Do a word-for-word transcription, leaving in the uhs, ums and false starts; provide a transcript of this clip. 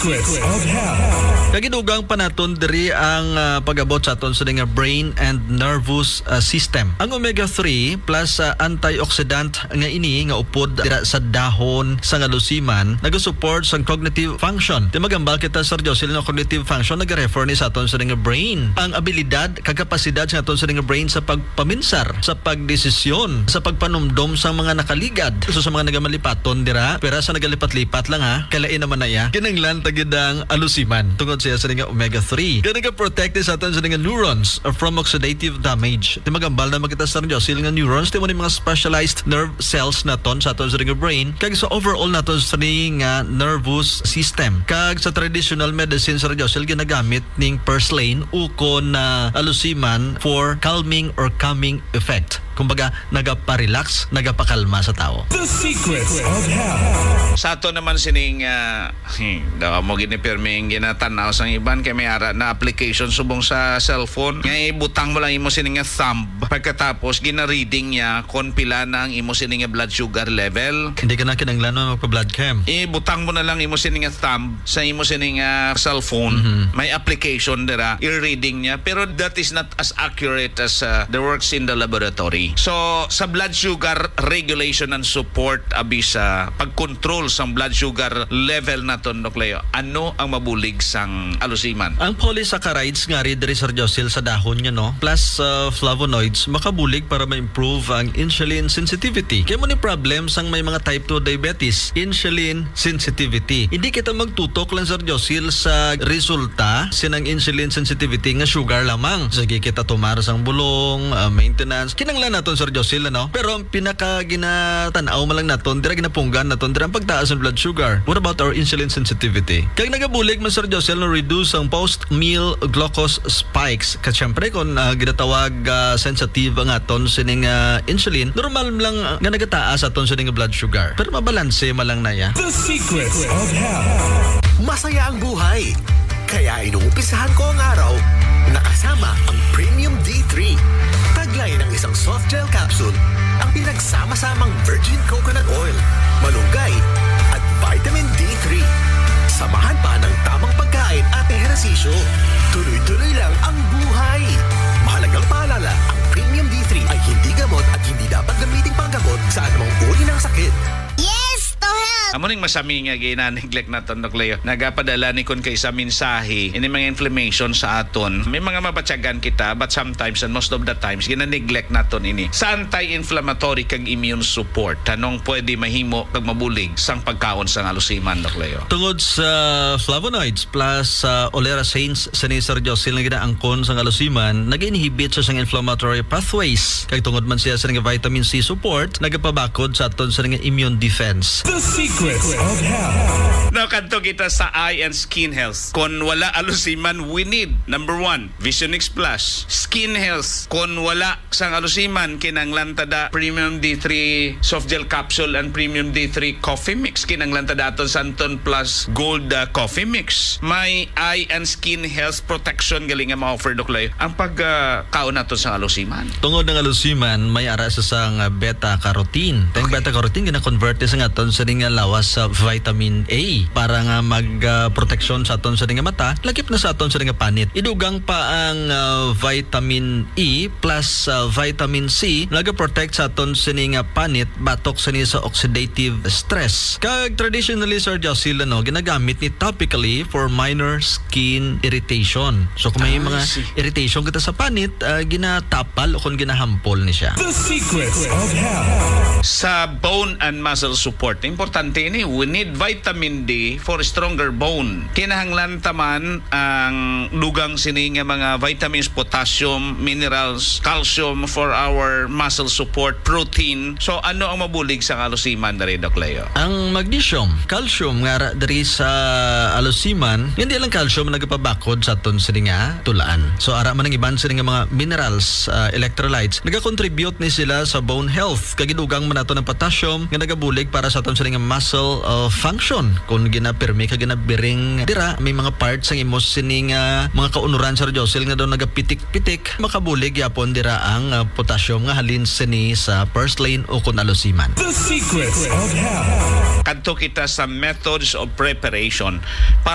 Secrets of Health. Kagidugang pa naton diri ang, ah, pag-abot sa aton sini nga brain and nervous, ah, system. Ang omega three plus, ah, antioxidant nga ini nga upod dira sa dahon sa nga lusiman nagasupport sa cognitive function. Di magambal kita, Sir Josil, nga cognitive function nagarefer ni sa aton sini nga brain. Ang abilidad kag kapasidad sa aton sini nga brain sa pagpaminsar, sa pagdesisyon, sa pagpanumdom sa mga nakaligad. So, sa mga nagamalipaton dira, pera sa nagalipat-lipat lang, ha, kalain naman na iya. Kinahanglan ta gid ang alusiman tungod siya sa nga omega three. Kaya nagaprotect sa aton sa nga neurons from oxidative damage. Di magambal na makita sa Josil nga neurons, di mo ni mga specialized nerve cells naton sa aton sa nga brain, kag sa overall naton sa nga nervous system. Kag sa traditional medicine sa Josil, ginagamit ning purslane ukon na alusiman for calming or calming effect. Kumbaga, nagapa-relax, nagapakalma sa tao. The Secrets of Health. Sa ato naman sining, ah, hmm, daw mo gini pirming ginatanaw sang iban kay may ara na application subong sa cellphone. Nga ibutang mo lang imo sining nga thumb. Pagkatapos, gina-reading niya kung pila na ang imo sining nga blood sugar level. Hindi ka na kinahanglan mo magpa-blood chem. Ibutang mo na lang imo sining nga thumb sa imo sining nga cellphone. Mhm. May application dira, i-reading niya. Pero that is not as accurate as, uh, the works in the laboratory. So, sa blood sugar regulation and support, abi sa pag-control sa blood sugar level naton, Doc Leo, ano ang mabulig sang alusiman? Ang polysaccharides nga ri diri, Sir Josil, sa dahon niya, no? Plus, uh, flavonoids, makabulig para ma-improve ang insulin sensitivity. Kaya mo ni problem sang may mga type two diabetes, insulin sensitivity. Hindi kita magtutok lang, Sir Josil, sa resulta sinang insulin sensitivity nga sugar lamang. Sige kita tumar sang bulong, ah, maintenance. Kinanglan naton, Sir Josil, ano? Pero ang pinaka ginatan-aw man lang naton, dira ginapunggan naton, dira ang pagtaas ng blood sugar. What about our insulin sensitivity? Kag nagabulig man, Sir Josil, no, reduce ang post-meal glucose spikes. Kag syempre, kung, ah, ginatawag, ah, sensitive ang aton sining, ah, insulin, normal lang, ah, nga nagataas aton sining blood sugar. Pero mabalanse man lang na ya. The Secrets of Health. Masaya ang buhay. Kaya inumpisahan ko ang araw nakasama ang Premium D three. Taglay ng isang soft gel capsule ang pinagsama-samang virgin coconut oil, malunggay, at vitamin D three. Samahan pa ng tamang pagkain at ehersisyo. Tuloy-tuloy lang ang buhay. Mahalagang paalala, ang Premium D three ay hindi gamot at hindi dapat gamiting panggamot sa anumang uri ng sakit. Yes to health! Amo ning masami nga gina-neglect naton, Doc Leo. Nagapadala ni kun kay sa mensahe, ini mga inflammation sa aton. May mga mabatyagan kita, but sometimes, and most of the times, gina-neglect naton ini. Sa anti-inflammatory kag immune support, anong pwede mahimo kag mabulig sang pagkaon sang alusiman, Doc Leo? Tungod sa flavonoids plus sa olerasanes, sini, Sir Josil, nga ginaangkon sang alusiman, nag-inhibit siya sang inflammatory pathways. Kag tungod man siya sa nga vitamin C support, nagapabakod sa aton sa nga immune defense. The Secrets of Health. Now, kadto kita sa eye and skin health. Kon wala alusiman, we need, number one, Vision X Plus. Skin health. Kon wala sang alusiman, kinanglan ta da Premium D three soft gel capsule and Premium D three coffee mix. Kinanglan ta da aton Santon Plus Gold, ah, coffee mix. May eye and skin health protection gali nga ma-offer, Doc Leo, ang pag, ah, kaon nato sa alusiman. Tungod ng alusiman, may ara sa sang, ah, beta carotene. Ang Okay. beta carotene gina-convert sa aton sa nga lawas sa vitamin A para nga mag, ah, proteksyon sa aton sa nga mata, lakip na sa aton sa nga panit. Idugang pa ang, ah, vitamin E plus, ah, vitamin C, nagaprotect sa aton sini nga panit batok sini sa oxidative stress. Kag traditionally, Sir Josil, ano, ginagamit ni topically for minor skin irritation. So, kung may Ah, mga I see. irritation kita sa panit, ah, ginatapal o kung ginahampol ni siya. The Secrets of Health. Sa bone and muscle support, importante ini. We need vitamin D for stronger bone. Kinahanglan ta man ang dugang sini nga mga vitamins, potassium, minerals, calcium for our muscle support, protein. So, ano ang mabulig sa alusiman diri, Doc Leo? Ang magnesium, calcium nga ra diri sa alusiman, hindi lang calcium ang nagapabakod sa aton sini nga tulaan. So, ara man ang iban sini nga mga minerals, ah, electrolytes, nagakontribute ni sila sa bone health. Kag idugang man nato ng potassium nga nagabulig para sa aton sini nga muscle, ah, function. Kung ginapirmi ka ginabiring dira, may mga parts ang imo sini nga mga kaunuran, Sir Josil, nga daw nagapitik-pitik, makabulig yapon dira ang, ah, potassium nga halin sini sa purslane o kun alusiman. The Secrets of Health. Kadto kita sa methods of preparation para